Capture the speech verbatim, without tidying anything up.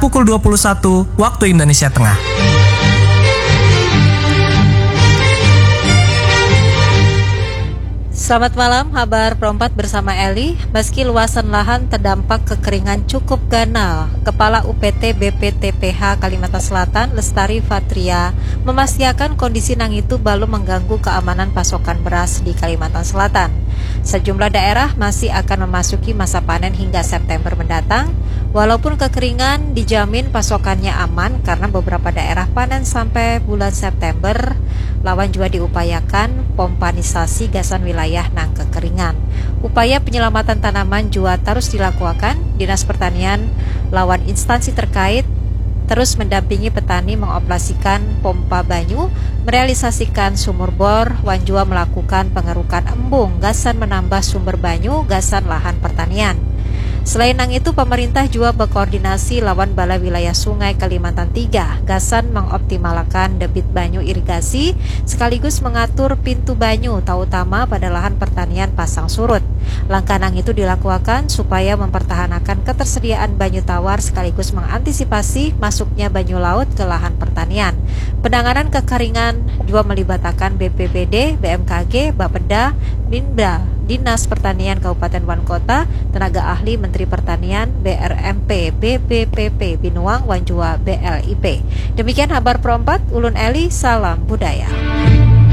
pukul dua puluh satu waktu Indonesia Tengah. Selamat malam, Habar Perempat bersama Eli. Meski luasan lahan terdampak kekeringan cukup ganal, Kepala U P T B P T P H Kalimantan Selatan, Lestari Fatria, memastikan kondisi nang itu belum mengganggu keamanan pasokan beras di Kalimantan Selatan. Sejumlah daerah masih akan memasuki masa panen hingga September mendatang. Walaupun kekeringan, dijamin pasokannya aman karena beberapa daerah panen sampai bulan September, lawan juga diupayakan pompanisasi gasan wilayah nang kekeringan. Upaya penyelamatan tanaman juga terus dilakukan. Dinas Pertanian lawan instansi terkait terus mendampingi petani mengoperasikan pompa banyu, merealisasikan sumur bor, wan jua melakukan pengerukan embung gasan menambah sumber banyu gasan lahan pertanian. Selain nang itu, pemerintah jua berkoordinasi lawan Balai Wilayah Sungai Kalimantan tiga gasan mengoptimalakan debit banyu irigasi sekaligus mengatur pintu banyu, terutama pada lahan pertanian pasang surut. Langkah nang itu dilakukan supaya mempertahankan ketersediaan banyu tawar sekaligus mengantisipasi masuknya banyu laut ke lahan pertanian. Penanganan kekeringan juga melibatkan B P B D, B M K G, Bapeda, Binda, Dinas Pertanian Kabupaten wan Kota, tenaga ahli Menteri Pertanian, B R M P, B B P P Binuang, wan jua B L I P. Demikian Habar Pro empat, ulun Eli, salam budaya.